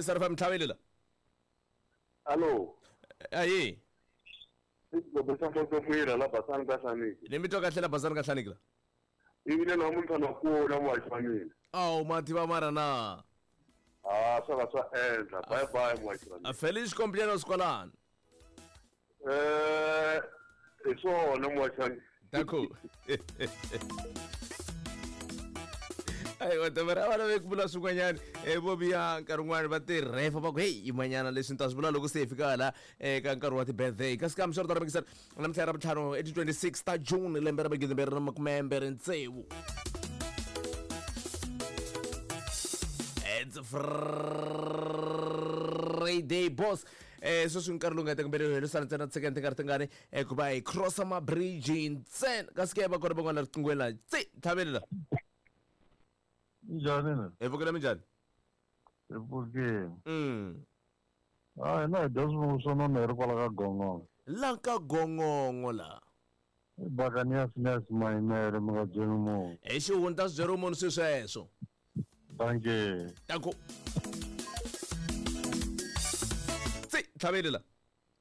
Jesar FM tlhaveli la. Allo. Ayi. Xigobo xa Mfosofwira la Basani ka Hlaniki. Ni mi twa kahle la Basani ka Hlaniki la. Ivile namuntlha na kula muhaxi wa mina. Awu ma tiva mara na. Ah, swa ka swa endla. Bye bye muhaxi wa mina. Feliz cumpleaños kwalano. Eh, hi swona muhaxi wa mina. D'accord. Ayiwa tavera a va lave ku vula swin'wanyana vo vuya nkarhi wun'wani va tirhefa va ku heyi yimanyana leswi ni ta swi vula loko se hi fika hala eka nkarhi wa ti-birthday kasi kambe swi ri tano mikisana namuntlha ra vutlhanu i ti-26 ta June lembe ra magidimbirhi na makumembirhi tsevu. It's Friday boss. Sweswi nkarhi lowu nga teka mbirhi helisana ntsena tsekeni ti nga ri tingani ku va hi crossa mabridge ntsena kasi ke va kona van'wana riqingweni la tsi tlhaveli la. Njhani na? Hi pfukile minjhani? Hi pfukile. Ah, hina hi dya swivungu swo nona hi ri kwala ka gongongo. La ka gongongo la. I Buccaneers Ness mayimele mi nga byeli munhu. Hi xihundla swi byeriwe munhu swi sweswo. Dankie. Danko. Tsi tlhaveli la.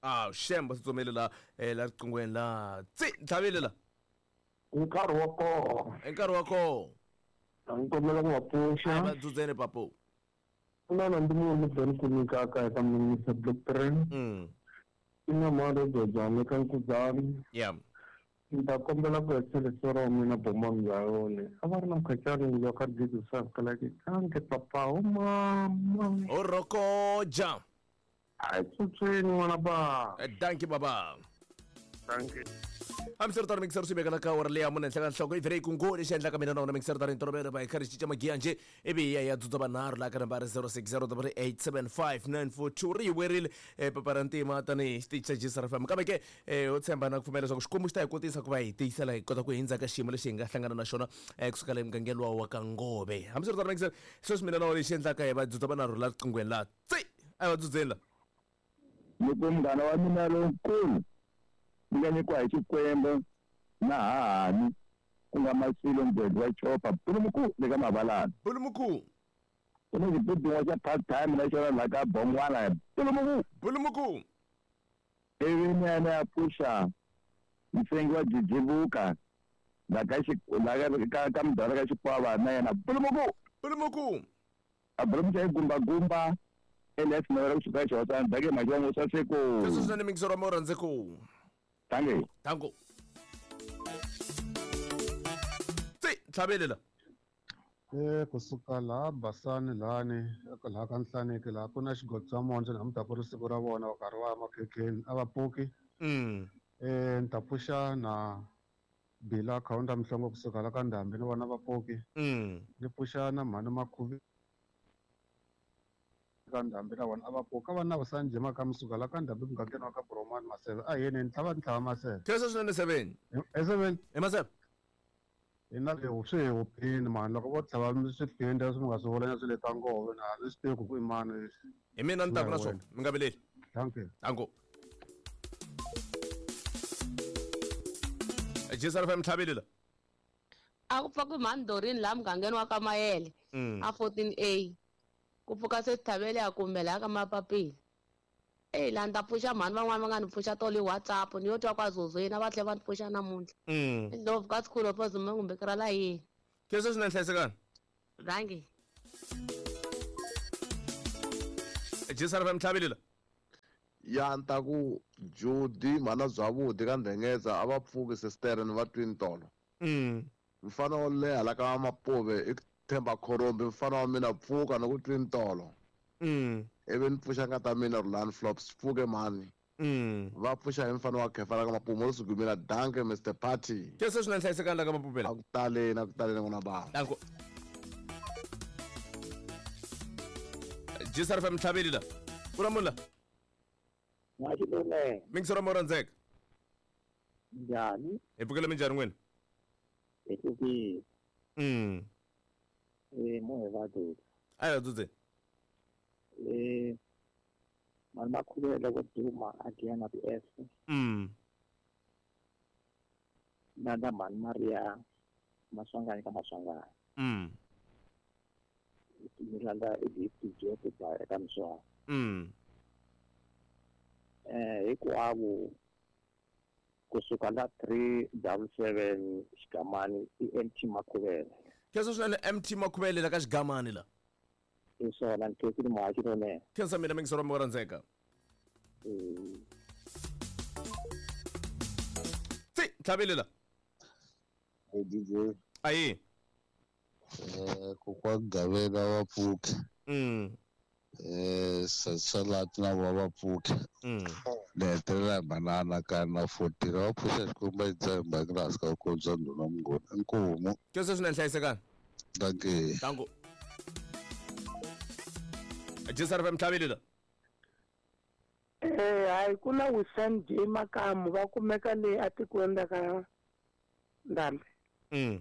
Ah, shemba tsutsumele la la riqingweni la. Tsi tlhaveli la. Nkarhi wa kona. I nkarhi wa kona. A ni kombela ku va pfuxa. A va dzudzeni papo. Ku na na ndi munhu ni ku nyikaka eka Minister Block 3. I na mali Jojane ka Nkuzani. Yeah. Ni ta kombela ku hetisa ra mina bomani bya yona. A va ri na mkhacani loyi ka Jesus sa like kanke papa o mama. O rokoja. A hi tsutsweni n'wana ba. Dankie baba. Dankie. Hambiswiritano mixer swi vekela ka awara leyi ya mune henhla ka nhloko i vhele yi kungu lexi endlaka mina na wona mixer tani ntolovelo va hi karhi cinca magiya njhe ivi hi ya hi ya dzudza vanharhu laha ka nambara 060 875 942 ri hi werile papa ra ntima tanihi xitichi xa Jesar FM kambe ke ho tshemba na ku pfumela leswaku Xikwembu xi ta hi kotisa ku va hi tiyisela hi kota ku hindza ka xiyimo lexi hi nga hlangana na xona kusukela emugangeni luwa wa ka Ngove. Hambiswiritano mixer sweswi mina na wona lexi endlaka hi va dzudza vanharhu laha riqinghweni laha tsi a hi va dzudzeni la. Ni ku munghana wa mina lonkulu ni nga nyikiwa hi Xikwembu na hahani ku nga Masilo Mgwedzi wa Chopa Bulumuku le ka Mavalana. Bulumuku. Ku na xibudun'wa xa part time na xona la ka Bongwana Bulumuku. Bulumuku. Ivi ni ya ni ya pfuxa msengi wa Jijivuka la ka la ka ka mudala ka Xikwava na yena Bulumuku. Bulumuku. A Bulumuku xa gumba gumba LS Mavela kusuka eXihosana Dake Maxongo swa siku. Sweswo swinene mingisoro wa mi rhandze ku. Thank Tango. Tsi tlhavele la. Kusuka laha Basani lahani laha ka Nhlaniki laha ku na xigodo xa mondzo namuntlha ku ri siku ra vona va karhi va ya makhekheni a va pfuki. Ni ta pfuxa na Bila Khawunda Mhlongo kusuka la ka Ndhambi ni vona va pfuki. Ni pfuxa na mhani Makhuvi ka Ndhambi na vona a va pfuki. Ka va na Vusani Jima ka Musuka la ka Ndhambi mugangeni wa ka Boromani Maseve a yeni ni tlhava ni tlhava Maseve. Khensa swinene Seveni. Seveni. I Maseve. Hi na swi hi huphini mani loko vo tlhava swiphindi leswi mi nga swi vula swi le ka ngove na ni swi tivi ku i mani leswi. Hi mina ni taku na swona mi nga vileli. Thank you. Danko. Jesar FM tlhaveli la. A ku pfuka mhani Dorini laha mugangeni wa ka Mayele a 14A. Ku pfuka se Thavele a kumbe laha ka Mapapila. Eyi laha ni ta pfuxa mhani van'wani va nga ni pfuxa tolo hi WhatsApp ni yo twa kwa Zozweni a va tlhela va ni pfuxa namuntlha. Ndlopfu ka School of Zuma kumbe ra la yini. Khensa swinene hlayisekani. Dankie. Jesar FM tlhaveli la. Ya ni ta ku Judy mhana Zwavhudi ka Ndhengeza a va pfuki sister ni va twini tolo. Mfana wo leha la ka Mapuve i Themba Khorombi mfana wa mina pfuka ni ku twini tolo. Ivi ni pfuxa ngata mina Rulani Flops pfuke mani. Va pfuxa hi mfana wa Khefa la ka Mapuve mo sugumela danke Mr Party. Khensa swinene hlayisekani la ka Mapuve la. A ku taleni a ku taleni n'wana ba. Danko. Jesar FM tlhaveli la. Ku na munhu la. N'waxilule. Mingisoro mo rhandzeka. Njhani? Hi pfukile minjhani n'wina? Hi pfukile. Mo hi va dzudza. A hi va dzudzeni. Mali Makhuvele ku duma a dya na ti-F. Na na mhani Maria Maswanganyi ka Maswanganyi. Ni landza DJ ku ba eka miswa. Hinkwavo kusuka la 377 Xigamani i MT Makhuvele. Khensa swinene MT Makhuvele la ka Xigamani la. I swona ni khensile muhaxi lonene. Khensa mina mingisero wa rhandzeka. Tsi tlhavele la. Hey DJ. Ayi. Kokwa Gavela wa pfuka. Salati na va va pfuka. Ni hetelela hi manana ka na 14 va pfuxa xikwembu yi tshemba hi nga ka ku bya ndhuna mungoni. Inkomu. Khensa swinene hlayisekani. Dankie. Danko. Jisar FM tlhavele la. Hayi ku na Wisan J Makamu va kumeka le atikweni ra ka Ndhambi.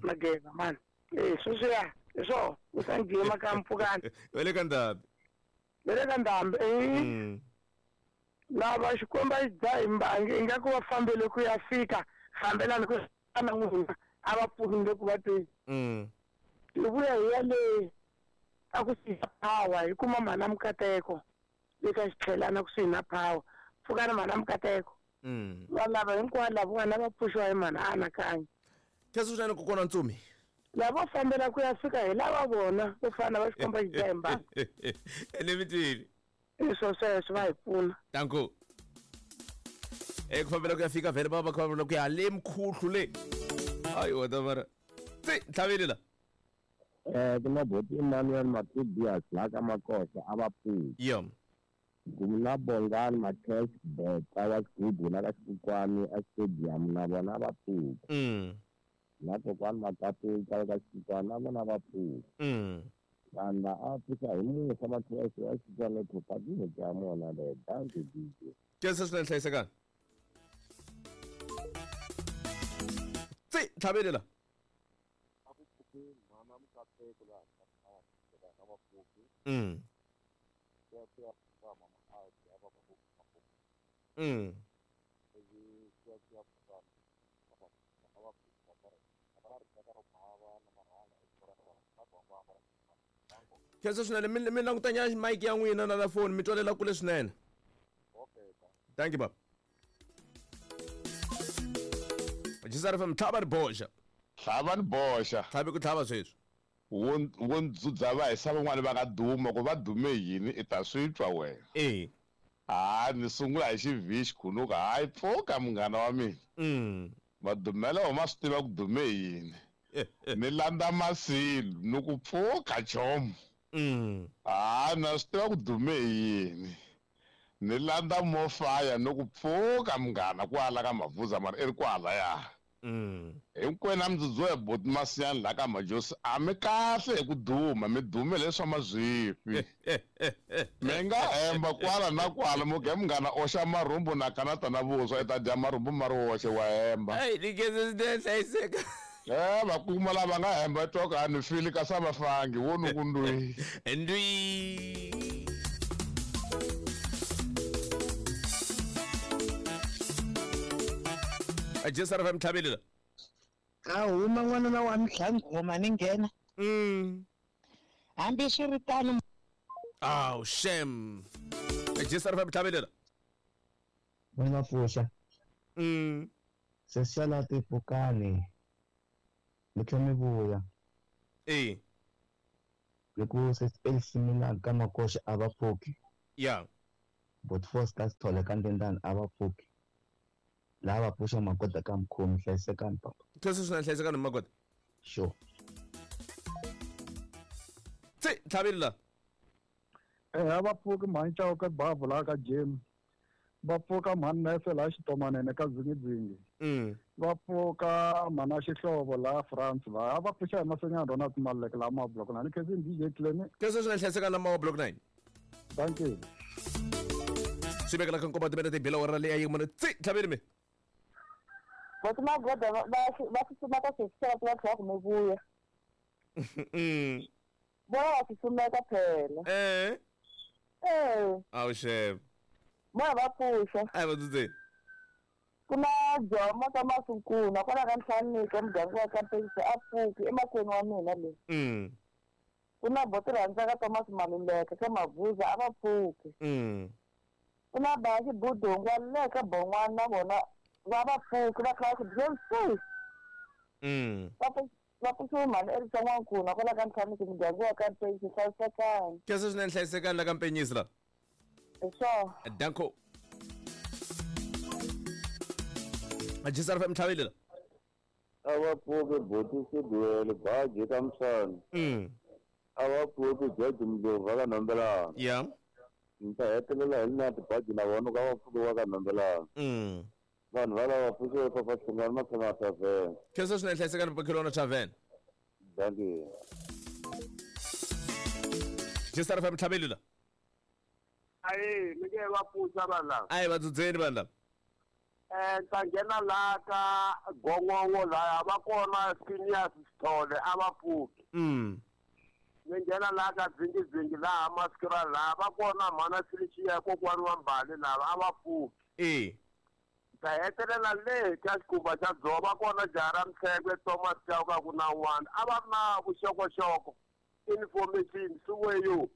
Mageza mani. Sweswiya hi swona Wisan J Makamu pfukani. Va le ka Ndhambi. Va le ka Ndhambi. Lava Xikwembu a xi dzaha hi mbangi ingaku va fambele ku ya fika fambelani ku na n'wina a va pfunile ku va tweni. Hi vuya hi ya le a ku siya power hi kuma mhana Mukateko le ka xitlhelana kusuhi na power pfukani mhana Mukateko. Va lava hinkwavo lavawani a va pfuxiwa hi mhana Anakanya. Khensa swinene kokwana Ntsumi. Lava fambela ku ya fika hi lava vona vo fana va Xikwembu xi dzaha hi mbangi. Ene mitini. I swo sweswo va hi pfuna. Danko. Ku fambela ku ya fika vhele va va fambela ku ya le mkhuhlu le. Hayi wena mara. Tsi tlhavele la. Ku na boti Emmanuel Matibias la ka Makosa a va pfuki. Yeah. Ku na Bongani Matheus Beta wa Xigubu la ka Xikwani a stadium na vona va pfuki. Na kokwani Makaputsa ka Xikwani na vona va pfuki. Vanhu a pfuka hi musa Matheus wa Xikwani thopa ti ya mona le danke DJ. Khensa swinene hlayisekani. Tsi tlhavele la. Khensa swinene mi langutanya mic ya n'wina na la phone mi twalela kule swinene. Thank you baba. Jisar FM tlhava ri boxa. Tlhava ni boxa. Tlhavi ku tlhava sweswi. Wo ndzudza va hisa van'wani va nga duma ku va dume yini i ta swi twa wena. Ni sungula hi xivhi xikhuluka hayi pfuka munghana wa mina. Madumelo wa ma swi tiva ku dume yini. Ni landza masilu ni ku pfuka chomo. Na swi tiva ku dume yini. Ni landza mofaya ni ku pfuka munghana kwala ka Mavuza mara i ri kwala ya. Hinkwenu a mi dzudziwa hi boti Masiyani la ka Majosi a mi kahle hi ku duma mi dume leswa mazwifi. Mi nga hemba kwala na kwala muge munghana oxa marhumbu na kanata na vuswa i ta dya marhumbu ma ri woxe wa hemba. Hayi ni khensa swinene hlayiseka. Va kuma lava nga hemba twa ku a ni fili kasi a va fangi wo ni ku ndwi. Ndwi. Jisar FM tlhavele la. A huma n'wanuna wa Mhlangoma ni nghena. Hambi swi ri tano. Aw shem. Jisar FM tlhavele la. Mina pfuxa. Se sala tipukani. Mi tlhela mi vuya. Hi ku se AC Milan ka Makoxa a va pfuki. Yeah. But Foster Sithole ka Ndendani a va pfuki. Lava pfuxa Magoda ka Mkhomi hlayisekani papa. Khensa swinene hlayisekani Magoda. Sure. Tsi tlhavele la. A va pfuki mhani Chauke Bavhu laha ka Jim. Va pfuka mhani Nese laha Xitomanene ka Dzingidzingi. Va pfuka mhana Xihlovo laha France va va pfuxa hi Masenyana Ronald Maluleke laha Mawa Block 9. Khensa DJ Clemi. Khensa swinene hlayisekani la Mawa Block 9. Thank you. Swi vekela ka nkombo timene ti bela wara leyi a yi mune tsi tlhavele mi. Boti Magoda va tsutsuma ka sweswi va tlhela ku mi vuya. Vona va tsutsumeka phela. Awu xebe. Vona va pfuxa. A va dzudzeni. Ku na Jomo ka Masunkuna kwala ka Nhlaniki muganga wa ka Mpekisi a pfuki emahlweni wa mina le. Ku na boti rhandzaka Thomas Maluleke ka Mavuza a va pfuki. Ku na ba Xibudungwa le ka Bon'wana na vona va va pfuki va kha va ku Va pfuxiwe mhani Erisa N'wankuna kwala ka Ntlhaniki muganga wa ka Mpenyisi hlayisekani. Khensa swinene hlayisekani la ka Mpenyisi la. Hi swona. Danko. Ajisar FM tlhavile la. A va pfuki boti Siduwele baji ka Msana. A va pfuki George Mdlovu va ka Nombelana. Yeah. Ni ta hetelela hi na tibaji na vona ka va pfuki va ka Nombelana. Vanhu va lava pfuxiwe papa Hlungwani Makhona Tavern. Khensa swinene hlayisekani Makhona Tavern. Thank you. Jisar FM tlhavile la. Ayi, ni nge va pfuxa vanhu lava. Ayi va dzudzeni vanhu lava. Ta nghena laha ka gongongo laya va kona Phineas Sithole a va pfuki. Ni nghena laha ka dzingidzingi laha Maskra laha va kona mhana Felicia kokwani wa Mbali lava a va pfuki. Ta hetelela le ka xikhumba xa dzovo va kona jaha ra Mtshekwe Thomas Chauke ku na un'wana a va ri na vuxokoxoko information swiweyo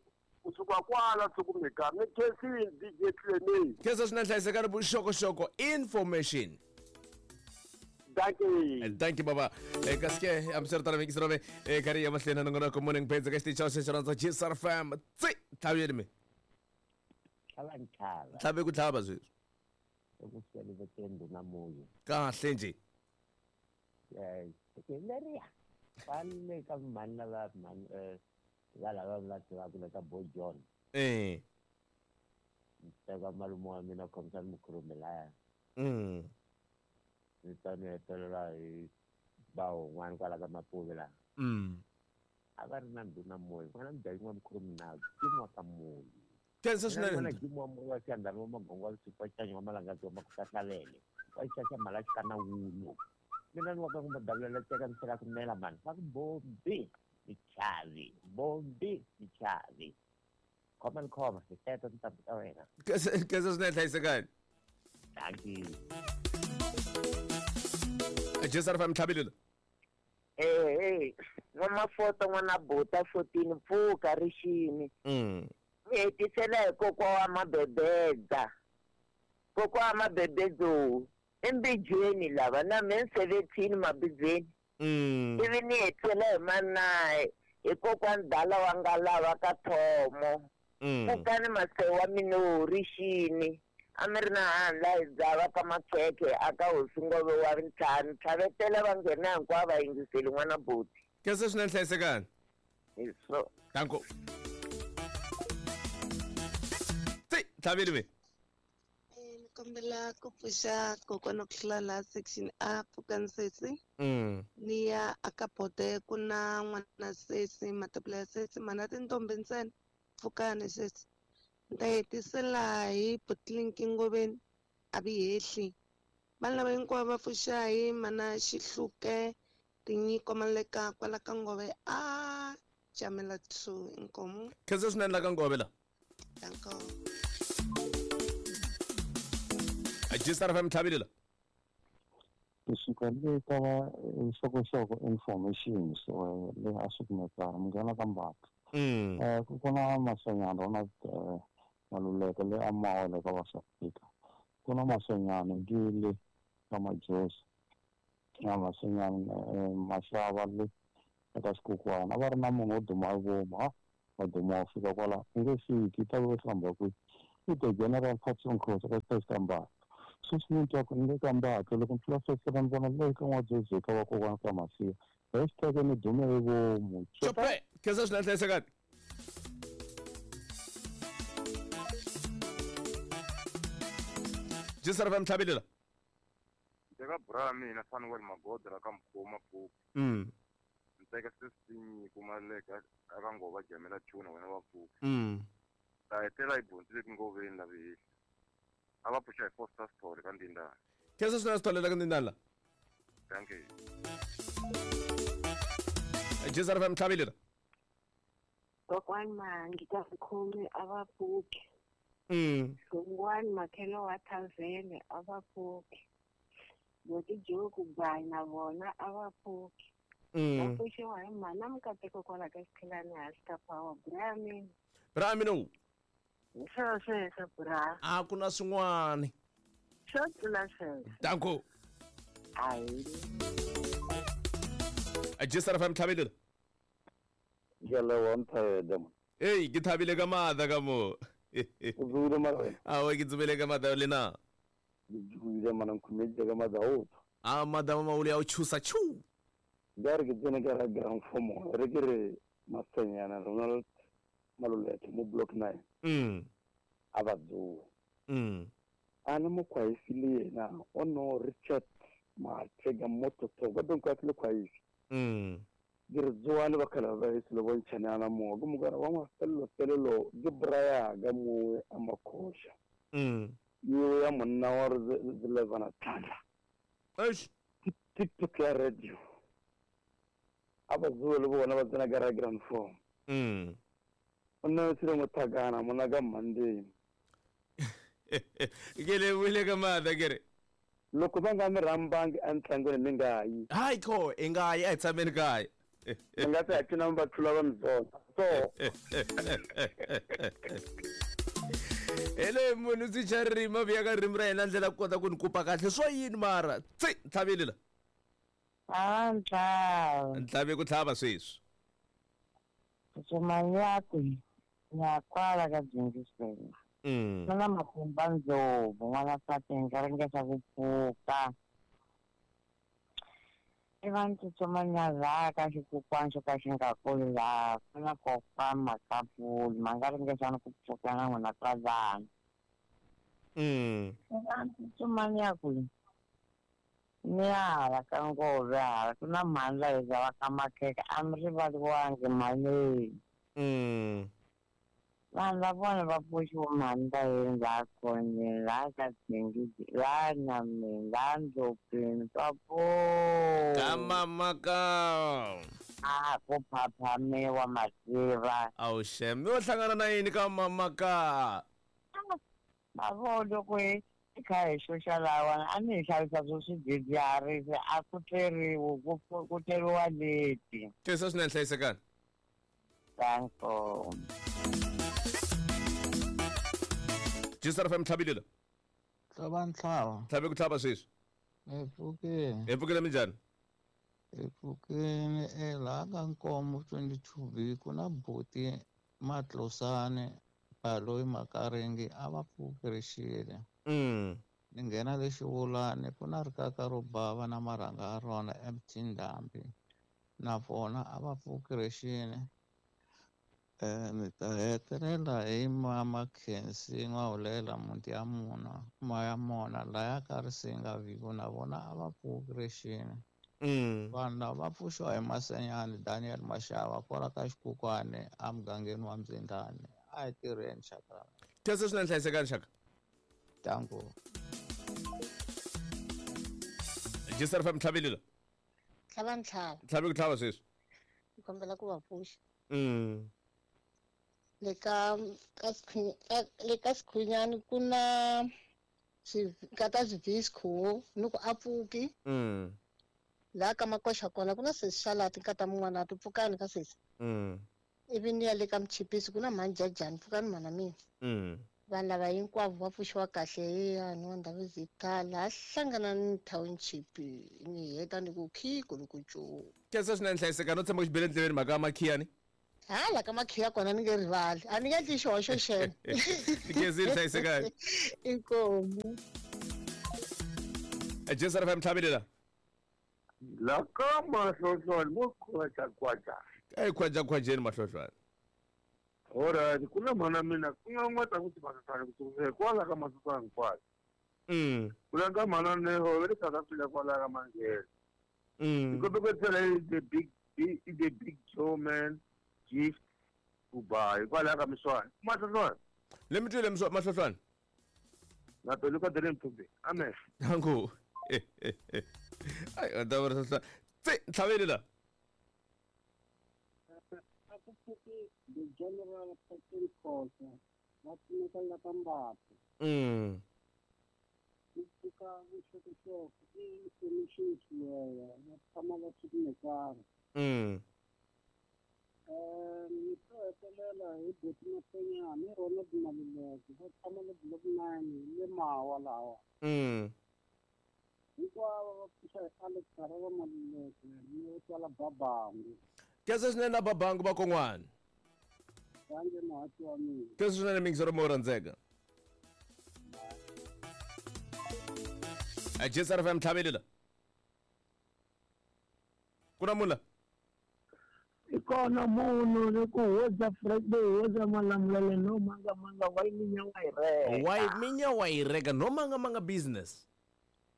kusuka kwala sukumeka ni khensini DJ Clement. Khensa swinene hlayisekani vuxokoxoko information. Thank you. Thank you baba. Kasi ke hambiswiritano mi yingisela ve karhi ya mahlweni na nongonoko morning page ka xitichi xa xexo rhandza Jisar FM. Tsi tlhaveni mi. Tlhava ntlhava. Tlhave ku tlhava sweswi. Eku sele ndhuna moyo. Kahle nje. Leriya. Kwale ka mhani lava mhani va lava va tivaka le ka Boy John. Teka malume wa mina Khomisani Mukhurume laya. Ni ta ni hetelela hi ba un'wana kwala ka Mapuve laha. A va ri na ndhuna moyo n'wana mudyayi n'wa Mukhurume na Jim wa ka Moyo. Khensa swinene. N'wana Jim wa Moyo wa Xiyandhani wa Magongo wa Vusiku wa Xicanyo wa Malangadzi wa Makuhlalele wa Xixaxa Mhala Xikana Wulu. Mina ni wa ka ku madavulela teka ni tlhela ku nela mani va ku bombi michavi bombi michavi khoma ni khoma hi teto tintambu ta wena. Khensa swinene hlayisekani. Thank you. Jisar FM tlhavile la. N'wamafoto n'wana buta 14 pfuka rixini. Mi hetisela hi kokwa wa Mabebedza. Kokwa wa Mabebedzo embijweni lava na me 17 mabijweni. Ivi ni hetisela hi manaye hi kokwa ndala wa nga lava ka Thomo. Pfukani masewu wa mina rixini. A mi ri na handla hi dzava ka Makhekhe a ka hosi Ngove wa ntlhanu tlhavetela va nghena hinkwavo va yingiseli n'wana buti. Khensa swinene hlayisekani. Hi so. Danko. Tsi tlhavile mi. Ni kombela ku pfuxa kokwana ku hlula laha section A pfukani sesi. Ni ya aka bote ku na n'wana sesi matebula ya sesi mana tintombi ntsena pfukani sesi. Ni ta hetisela hi Butlinki Ngoveni a vi hehli. Vanhu lava hinkwavo va pfuxa hi mana Xihluke tinyiko maleka kwala ka Ngove a Jamela 2 inkomu. Khensa swinene la ka Ngove la. Danko. Jisar FM tlhavile la. Kusuka le ka va xokoxoko information so le a swi kumeka munghana ka Mbatha. Ku na Masonyana na Maluleke le a Mawele ka va South Africa. Ku na Masonyana Gile ka Majosi na Masonyana Maxava le eka Xikukwana. A va ri na munhu wo duma hi vomu ha va duma wa fika kwala i nge fiki ta ve hlamba kwihi i the general Patson Cross eka xitachi ka Mbatha. Sweswi ni twa ku ni le ka Mbatha loko ni tlula sweswi ni vona le ka N'wadzodzi ka vakokwana ka Masiya. Hashtag ni dume hi vomu. Chope. Khensa swinene hlayisekani. Jisar FM tlhavile la. Teka bra mina Fanuel Magodra ka Mkhoma Pfuki. Ni teka sesi Maleka aka Ngova Jamela Chuna wena wa Pfuki. Ta hetela hi bontsile ku Ngoveni la vihehli. A va pfuxa hi Foster Story ka Ndindana. Khensa swinene Sithole la ka Ndindana la. Thank you. Jisar FM tlhavile la. Kokwani Mangi ka Mkhume a va pfuki. Hlungwani Makhelo wa Thavene a va pfuki. Boti Joku Gwayi na vona a va pfuki. Va pfuxiwa hi mhana Mukateko kwala ka Xikhilani hansi ka Power. Bra mina. Bra mina. Sweswo bra. A ku na swin'wana. Swo tlula sweswo. Danko. Ayi. Ajisara fam thabile. Jala wa nthaeda. Hey, ke thabile ka matha ka mo. O tsubile mara. A wa ke tsubile ka matha le na. Ke tsubile mana nkhumetse ka matha o. A madama mauli a o chusa chu. Gare ke tsene ka ra ground form re ke re Masenyana Ronald Maluleke mo block 9. A ba tsoa. Ana mo kwaisi le yena o no Richard Matega mototo ba don kwa le kwaisi. Ke re tsoa le bakala ba e se le bontshana ana mo go mogara wa mafelelo felelo ke braya ga mo a makosha. Yo ya monna wa re levana tlala. Eish TikTok ya radio. Aba tsoa le bona ba tsena ka ra ground form. Nna se re mothakana mona ka Monday. Ke le buile ka matha ke re loko va nga mi rambangi entlangwini mi nga yi. Hayi ko i nga yi a hi tshameni kaya. Mi nga ta ya cina mi va tlula va mi zonda. So hele munhu swi cha ririmi a vuya ka ririmi ra yena ndlela ku kota ku ni kupa kahle swo yini mara tsi ntlhavile la. A ntlhava. Ntlhave ku tlhava sweswi. Tsutsumanyakwe ya kwala ka Dyingisela. N'wana Matimba Ndlovu n'wana Fatinga ringeta ku pfuka. I va tsutsumanya laha ka xikukwana xo ka xi nga kuli laha ku na kokwana Makapuli ma nga ringesani ku pfuka na n'wina kwalano. I va tsutsumanya kwihi? Ni hala ka Ngove hala ku na mhani la hi xavaka makhekhe a mi rivaliwangi mhani. Vanhu va vona va pfuxiwa mhani va yini laha khoneni laha ka Dzingidzi laha Nyameni laha Ndlopfini papo. Ka mama ka. A ku phaphamiwa mativa. Awu xem mi yo hlangana na yini ka mama ka? Mavo loko hi kha hi xuxa lawana a ni hi xavisa swo swidzidziharisi a ku tleriwi ku tleriwa leti. Khensa swinene hlayisekani. Danko. Jisara fam tlhabile la. Tlhava ntlhava. Tlhave ku tlhava sweswi. Hi pfukile. Hi pfukile minjhani? Hi pfukile laha ka Nkomo 22B ku na buti Matlosane Baloyi Makaringi a va pfuki rixile. Ni nghena le Xivulani ku na rikaka ro bava na marhanga ya rona MT Ndhambi na vona a va pfuki rixile. Ni ta hetelela hi mama Khensi N'wahulela muti ya mona maya mona laya ka Risinga Vigo na vona a va pfuki rixile. Vanhu lava va pfuxiwa hi Masenyani Daniel Mashava kwala ka Xikukwane emugangeni wa Mdzindani. A hi tirheni xaka. Khensa swinene hlayisekani xaka. Danko. Jisara fam tlhavile la. Tlhava ntlhava. Tlhave ku tlhava sweswi. Ni kombela ku va pfuxa. Le ka le ka Sikhunyani ku na kata Swivisco ni ku a pfuki. Laha ka Makoxa kona ku na sesi Xalati nkata mun'wana ti pfukani ka sesi. Ivi ni ya le ka Mchipisi ku na mhani Jajani pfukani mhana mina. Vanhu lava hinkwavo va pfuxiwa kahle hi yani wa ndhawu zita laha hlangana ni township ni heta ni ku khiko ni ku cu. Khensa swinene hlayisekani no tshemba ku xi bele ndleveni mhaka ya makhiyani. Hala ka makhiya kona ni nge rivali a ni nge endli xihoxo xena. Khensile hlayisekani. Inkomu. Jisara fam tlhavile la. La ka Mahlohlwane mo khwaja khwaja. Ai khwaja khwajeni Mahlohlwane. Alright, ku na mhana mina ku nga n'wata ku timasisana ku sukela kwala ka Masisana kwala. Ku la ka mhana Neho va le South Africa kwala ka Manghena. Ni kote ku tsela the big Joe man gift Dubai kwala ka Miswana. Mahlohlwane. Le mi twile Mahlohlwane. Na to luka dele mthumbe. Amen. Danko. Ai ta va ri tsi ntlhavele la. The General Patrick Khosa va pfuneka la ka Mbappe. Ku pfuka vuxokoxoko i information xiweya va tshama va swi kumekana. Ni to hetelela hi buti Mapenyani Ronald Maluleke va tshama le block 9 le Mawa lawa. Hinkwavo va pfuxa hi Alex Harara Maluleke ni twala Babangu. Kesa swinene na Babangu va kon'wana. Danke muhaxi wa mina. Kesa swinene mingisero mo rhandzeka. JSR FM tlhavelela. Ku na munhu la? I kona munhu ni ku hoza Friday hoza Malamulele no manga manga wa minya wa yi reka. Wa minya wa yi reka no manga manga business.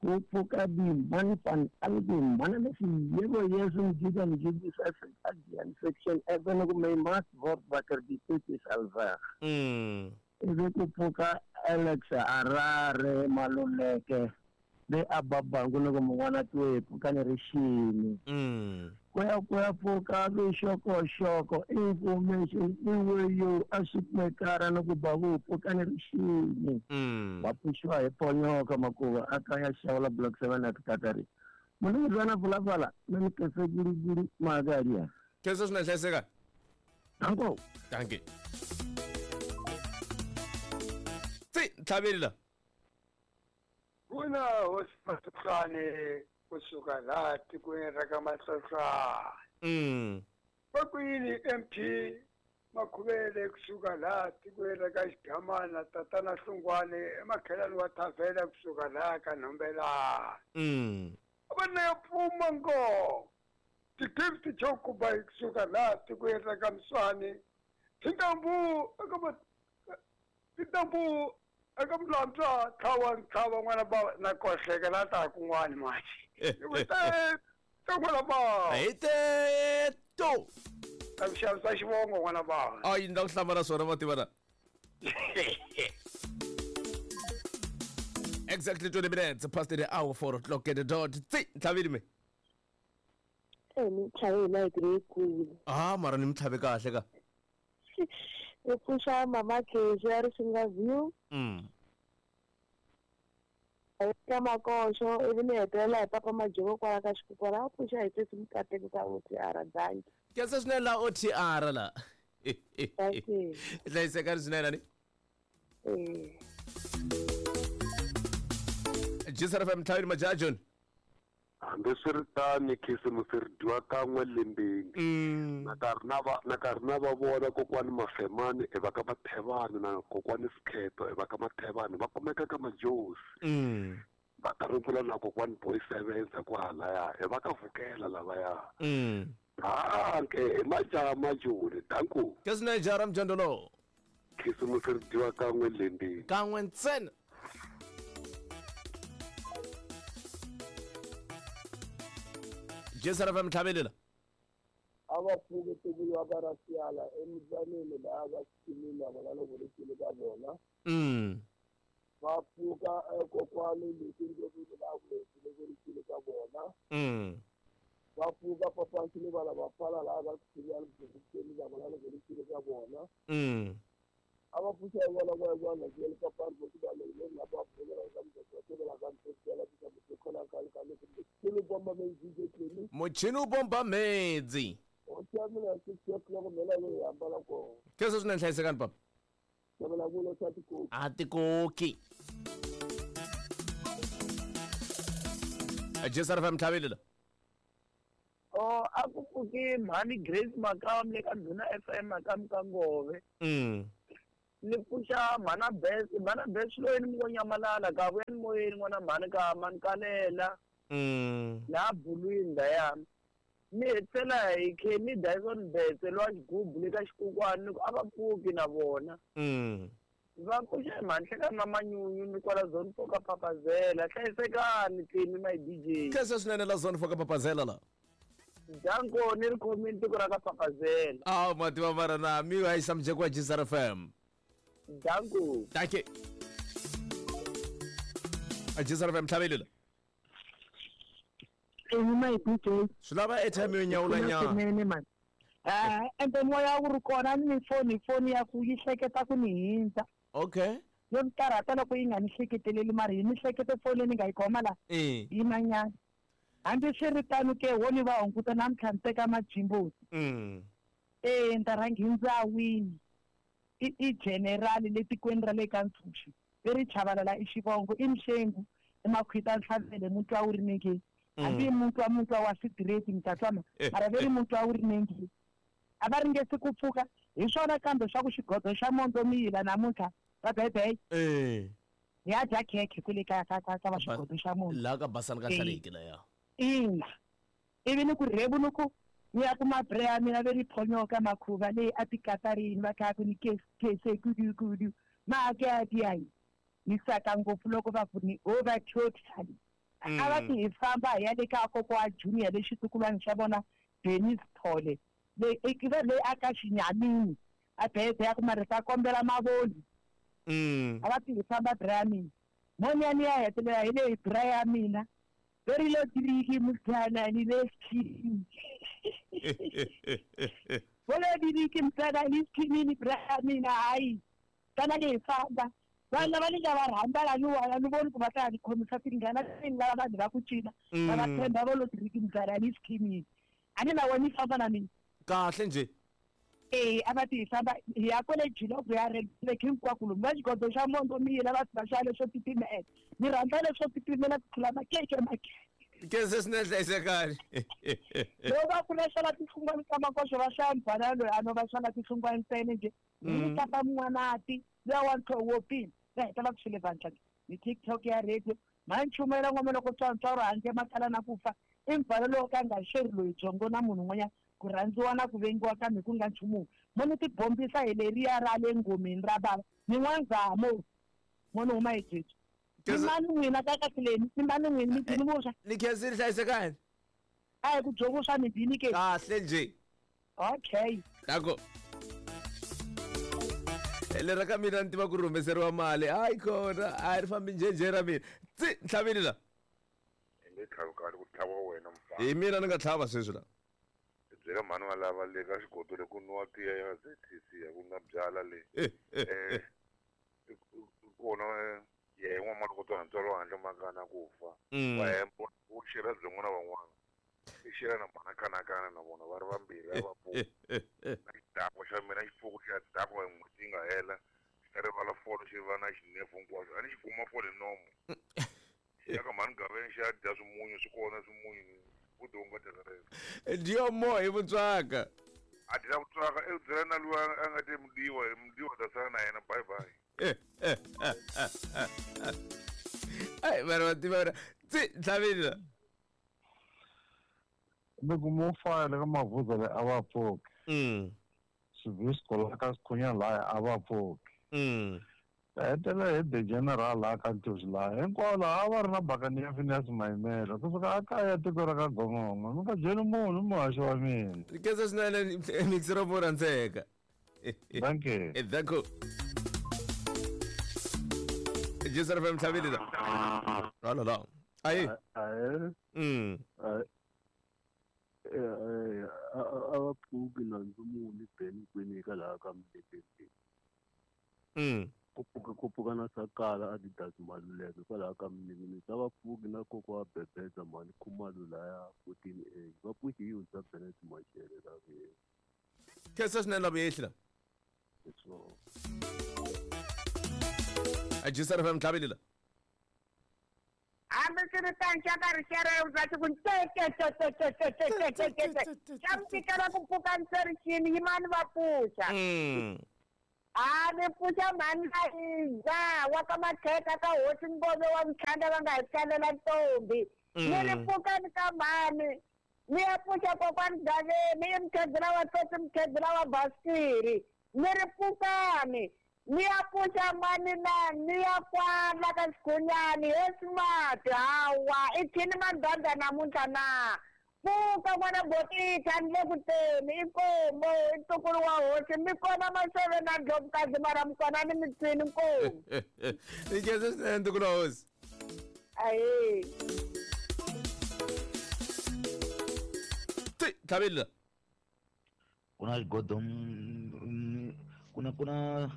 Ku pfuka dimani pan algum mana lesi yebo yesu mjida mjidi sa adian section even ku may must word wakker die tyd is al weg. Ivi ku pfuka Alex Harare Maluleke le a Babangu loko mun'wana twe pfukani rixini. Ku ya pfuka vixokoxoko information iweyo a swi kumekara ni ku ba vu pfukani rixini. Va pfuxiwa hi ponyoka makuva a kaya xawula block 7 at Katari. Munhu lwana vulavula na ni kese guruguru magaria. Kese swinene hlayiseka. Danko. Danke. Tsi tlhavelela. Kuna hosi Masuhlane kusuka laha tikweni ra ka Mahlonhlwana. Vakwini MP Makhuvele kusuka laha tikweni ra ka Xigamana tatana Hlungwane emakhelani wa Thavela kusuka laha ka Nhombelani. Vana ya pfuma ngo ti-gift chokuba kusuka laha tikweni ra ka Mswani tintambu eka mlantswa tlhava ntlhava n'wana ba na kohleka la ta kun'wani manje. N'wana ba. Hi teto. Ta ku xavisa xivongo n'wana ba. Ayi ni ta ku hlamala swona va tiva na. Exactly 20 minutes past the hour 4 o'clock at the dot. Tsi ntlhavile me. Ni tlhave hi nayiti leyikulu. Ah mara ni mi tlhave kahle ka. Ni pfuxa mama Khezu ya Risinga View. Ka Makoxo ivi ni hetelela hi papa Majovo kwala ka Xikukwana a pfuxa hi sesi Mukateki ka OTR danki. Kesa swinene la OTR la. Hlayisekani swinene ni. JSR FM tlhavile majajon. Hambiswiritano khisimusi ri dyiwa kan'we lembeni. Na karhi na va vona kokwani Mafemani i va ka Mathevani na kokwani Sikheto i va ka Mathevani va kumeka ka Majosi. Va ta rungula na kokwani Boy Sevenza kwahalaya i va ka Vukela lavaya. Hanke i majaha majoni danku. Kesina jara mjondolo. Khisimusi ri dyiwa kan'we lembeni. Kan'we ntsena. JSR FM tlhavelela. A va pfuke tikulu wa ka Rasiala emizaneni laha va xikimini vona loko ri xile ka vona. Va pfuka kokwani leswi laha ku loko ri xile ka vona. Va pfuka papansi va lava pfala laha va xikimini la vona loko ri xile ka vona. A va pfuxa hi vona va vona le papani vo va le la va pfukela ka mutsetelo ka mutsetelo ka mutsetelo ka ka le bomba medzi muchini u bomba medzi. O tshamela 6 o'clock mela leyi hambana kona. Kesa swinene hlayisekani papa. Tshamela kulo swa tikoki. A tikoki. JSR FM tlhavelela. Oh a ku pfuki mhani Grace Makam le ka Ndhuna FM Makam ka Ngove. Ni pfuxa mhana Bes loyi ni ngo nyamalala ka vuya ni moyeni n'wana mhani ka mankalela. La bulwini laya. Ni hetisela hi Kenny Dyson Betse lowa xigubu le ka Xikukwana ni ku a va pfuki na vona. Va pfuxa hi mhanhlekani na manyunyu ni kwala zone 4 ka Papazela. Hlayisekani Timi my DJ. Kesa swinene la zone 4 ka Papazela la. Danko ni ri khomini tiko ra ka Papazela. Ah mativa mara na mi wa yisa mujeko wa JSR FM. Danko. Danke. JSR FM tlhavelela. My DJ. Swi lava airtime yo nyawula nyana. Ende moya wu ri kona ni foni ya ku yi hleketa ku ni hindza. Okay. Yo ni karhata loko yi nga ni hleketeleli mara yi ni hlekete foni leyi ni nga yi khoma la. Yi manyana. Hambi swi ri tano ke wo ni va hunguta namuntlha ni teka majimbosi. Ni ta rhanga hi ndzawini. I general le tikweni ra le ka Ntshuxi. Leri Chabalala i xivongo, i Mxengu, i Makhwita Ntlhavele, mutwa wu ri nenge. Hambi mutwa wa sitireti mi ta twa mara ve ri mutwa wu ri nenge. A va ringesi ku pfuka hi swona kambe swa ku xigodo xa mondzo mi yila namuntlha va bebe. Hi ya dya khekhe kwale ka ka ka ka va xigodo xa mondzo. La ka basani ka hlaleki la ya. Ina. Ivi ni ku rhevu ni ku ni ya kuma bre ya mina ve ri phonyoka makhuva leyi a tikatarini va kha ku ni kese kudu kudu. Ma ke a ti ayi. Ni saka ngopfu loko va ku ni over totally. A va ti hi famba hi ya le ka kokwa wa Junior le xitukulwana xa vona Dennis Thole. Le i va leyi a ka xinyamini a bebe ya ku mara ta kombela mavoni. A va ti hi famba bra ya mina. Monyani ya hetelela hi leyi bra ya mina. Very low diriki mutana ni le skin. Volo diriki mutana ni skin ni bra ya mina hayi. Tana le famba. Vanhu lava ni nga va rhandza la ni wala ni voni ku va ta ni khomisa tingana ni lava vanhu va ku cina. Va va tshemba volo diriki mutana ni skin. A ni na wena ni famba na mina. Kahle nje. A va ti famba hi ya kwale Jiloko ya Red hinkwako lomu va xigodo xa mondzo mi yila va va xa leswo titimela. Ni rhandza leswo titimela ku tlula makeke makeke. Ke se swinene hlayisekani. Loko va ku va xava tihlungwana ta makoxo va xava mbhana loyi a no va xava tihlungwana ntsena nje. Ni tapa mun'wanati luya wa ntlhoho wo pima. Va heta va ku xile vandla ni TikTok ya radio. Ma nchumayela n'wana loko tswantswaro handle makala na ku fa. I mbhalo lowu ka nga xeri loyi byongo na munhu un'wanyana. Ku rhandziwa na ku vengiwa kambe ku nga nchumu. Mo ni tibombisa hi leriya ra le ngomeni ra bava. Ni n'wanzamo. Mo ni huma hi jeju. Ni mani n'wina ka kahleni, ni mani n'wina mi bini vuswa. Ni khensile hlayisekani. A hi ku byo vuswa mi bini ke. Kahle nje. Okay. Danko. Lera ka mina ni tiva ku ri humeseriwa mali. Hayi kona, a ri fambi njhenjhe ra mina. Tsi, ntlhavini la. Ni tlhava kahle ku tlhava wena mfana. Hi mina ni nga tlhava sweswi la. Byela mhani wa lava le ka xigodo le ku nwa tiya ya ZTC ya ku nwa byala le. Kona ye n'wa mali ko twa ntswalo handle mangana ku fa. Wa hemba u xera byin'wana na van'wana. I xera na mhana kanakana na vona va ri vambirhi a va pfuka. Na xidakwa xa mina xifuku xa dakwa hi n'hweti yi nga hela. Xi ta rivala folo xi va na xinefu hinkwaswo. A ni xi kuma fole nomo. Xi ya ka mhani Gaveni xi ya dya swimunyu swi kona swimunyu. Dio mo hi vutswaka. A dya vutswaka i byela na luwa a nga te mudiwa, mudiwa ta sala na yena bye bye. Ai mara va tiva tsi ntlhavini la. Loko mo fayela ka mavuza le a va pfuki. Swivisco la ka Sikhunya laya a va pfuki. Hetelela hi the general la ka Ntusi laha hinkwavo laha a va ri na bakani ya Phineas Mayimela kusuka a kaya tiko ra ka Gongongo mi nga byeli munhu muhaxi wa mina. Khensa swinene mixero mo rhandzeka. Thank you. Thank you. Jesu FM ntlhavini la. Ala la. Ayi. A va pfuki nandzu muni beni kwini ka laha ka Mdebeni. Ku pfuka na Sakala Adidas Maluleke kwalaho ka Mninginisi. A va pfuki na kokwa wa Bebeza mhani Khumalo laya 14A. Va pfuki hi Yundza Bennett Mashele la vuyeni. Khensa swinene la vuyehli la. A Jesu FM ntlhavini la. Hambi swi ri tano xa ka rixera ya vusati ku te xa mi tikela ku pfuka nserixini yimani va pfuxa. A ni pfuxa mhani na Iza wa ka Makheka ka hosi Ngove wa Mkhanda va nga hi tsalela ntombi. Ni ri pfukani ka mhani ni ya pfuxa kokwani Gaveni i mukhegula wa tsotsi mukhegula wa Basiri. Ni ri pfukani ni ya pfuxa mani na ni ya kwala ka Xikhunyani he smart hawa i thini mandanda namuntlha na. Pfuka n'wana Botita ni le ku teni i nkomo i ntukulu wa hosi mi kona maseve na ndlovukazi mara mi kona ni mitsini nkomo. Ni khensa swinene ntukulu wa hosi. Ahee. Ti ntlhavini la. Ku na xigodo ku na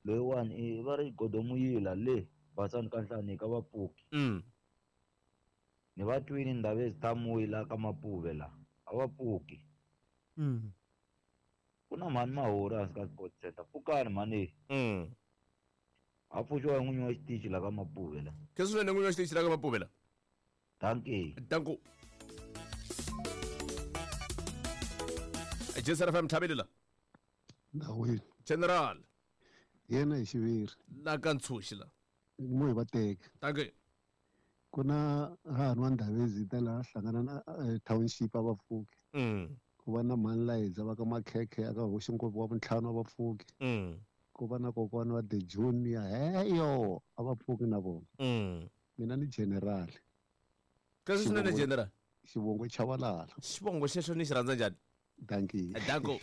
loyiwani i va ri xigodo muyila le basani ka nhlani ka vapfuki. Ni va twini Ndabezi Tamuyi la ka Mapuve la. A va pfuki. Ku na mhani Mahori hansi ka Sport Center. Pfukani mhani. A pfuxiwa hi n'winyi wa xitichi la ka Mapuve la. Khe swinene n'winyi wa xitichi la ka Mapuve la. Dankie. Danko. Jesara FM Thabile la. Ndawini. General. Yena hi xiviri. La ka Ntshuxi la. Mo hi va teka. Dankie. Ku na hahani wa Ndabezi ta laha hlangana na township a va pfuki. Ku va na mhani Layidza va ka Makhekhe aka hoxi ngopfu wa vuntlhanu a va pfuki. Ku va na kokwana wa The Junior heyo a va pfuki na vona. Mina ni general. Kasi swinene general. Xivongo Chavalala. Xivongo xexo ni xi rhandza njhani? Dankie. Danko.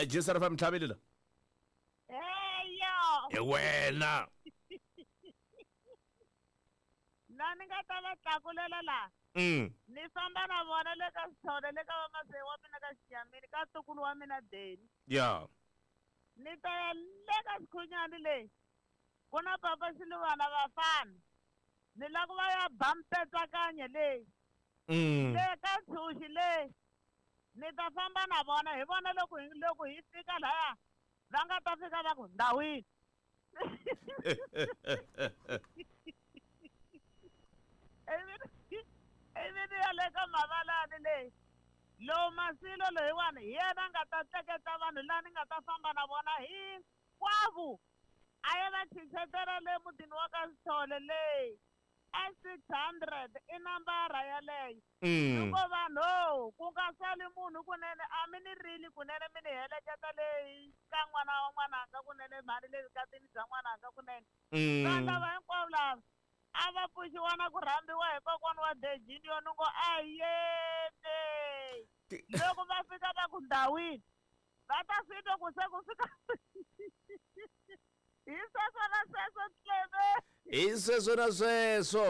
Jesara FM Thabile la. Heyo. Hi wena. La ni nga ta va tlakulela la. Ni famba na vona le ka Sithole le ka vamaseye wa mina ka Xiyamini ka ntukulu wa mina Deni. Yeah. Ni ta ya le ka Xikhunyani leyi. Ku na papa Xiluvana vafana. Ni lava ku va ya ba mpetsakanya leyi. Le ka Ntshuxi leyi. Ni ta famba na vona hi vona loko hi fika laya va nga ta fika va ku ndhawini. Ivi ni ya le ka Mavalani leyi. Lowu Masilo loyiwani hi yena a nga ta tleketla vanhu laha ni nga ta famba na vona hinkwavo. A ya va chinchetela le mutini wa ka Sithole leyi. A 600 i nambara yaleyo. Loko vanhu ku nga sali munhu kunene a mi ni rili kunene mi ni heleketa leyi ka n'wana wa n'wananga kunene mhani le vukatini bya n'wananga kunene. Vanhu lava hinkwavo lava a va pfuxiwa na ku rhambiwa hi kokwana wa The Junior ni ngo a yete. Loko va fika va ku ndhawini va ta swi twa ku se ku fika hi sweswo na sweswo Tlebe. Hi sweswo na sweswo.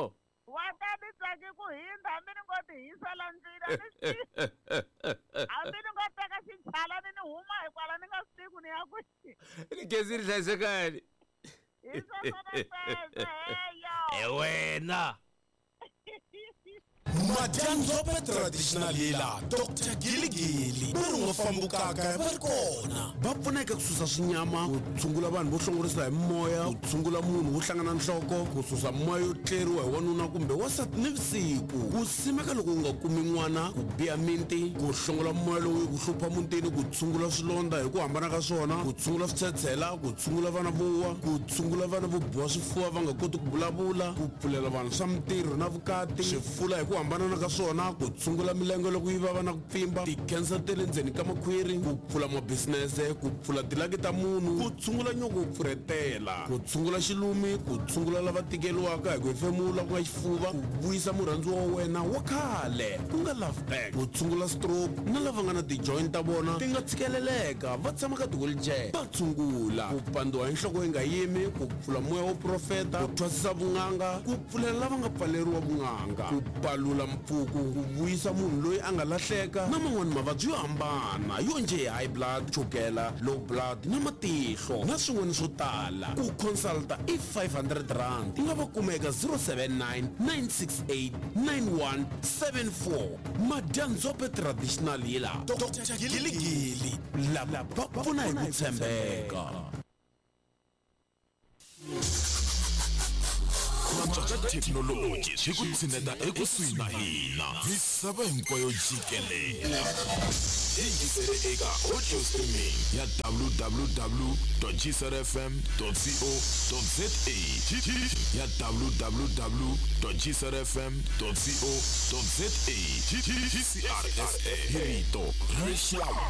Wa ta ni tsaki ku hindza hambi ni ngo ti hisela ndzila ni swi hambi ni ngo teka xichalani ni huma hikwala ni nga swi tivi ku ni ya kwihi. Ni gezi ri hlayisekani. Hi sweswo na sweswo heyo. Hi wena. Madyandzhope traditional healer Dr. Giligili va ri nga fambukaka va ri kona va pfuneka ku susa swinyama ku tshungula vanhu vo hlongorisa hi moya ku tshungula munhu wo hlangana nhloko ku susa moya yo tleriwa hi wanuna kumbe wansati ni vusiku ku simeka loko u nga kumi n'wana ku biha minti ku hlongola moya lowu ku hlupha mutini ku tshungula swilondza hi ku hambana ka swona ku tshungula switshetshela ku tshungula vana vo wa ku tshungula vana vo biwa swifuva va nga koti ku vulavula ku pfulela vanhu swa mintirho na vukati swifula hi ku hambana ka swona ku tshungula milenge loko yi vava na ku pfimba ti-cancer ta le ndzeni ka makhwiri ku pfula mabisinese ku pfula tilaki ta munhu ku tshungula nyoko wo pfurhetela ku tshungula xilumi ku tshungula lava tikeriwaka hi ku hefemula ku nga xifuva ku vuyisa murhandziwa wa wena wa khale ku nga love back ku tshungula stroke na lava nga na ti-joint ta vona ti nga tshikeleleka va tshama ka ti-wheelchair va tshungula ku pandziwa hi nhloko yi nga yimi ku pfula moya wo profeta ku thwasisa vun'anga ku pfulela lava nga pfaleriwa vun'anga ku palula mpfuku ku vuyisa munhu loyi a nga lahleka na man'wani mavabyi yo hambana yo njhe high blood chukela low blood na matihlo na swin'wana swo tala ku consulta i 500 rand u nga va kuma eka 079 968 9174 Madyandzhope traditional healer Dr. Giligili lava va pfuna hi ku tshembeka. Antswa ka thekinoloji swi ku tshineta ekusuhi na hina misava hinkwayo jikelele. Yingisele eka audio streaming ya www.gcrfm.co.za ya www.gcrfm.co.za. GCRSA hi rito ra rixaka.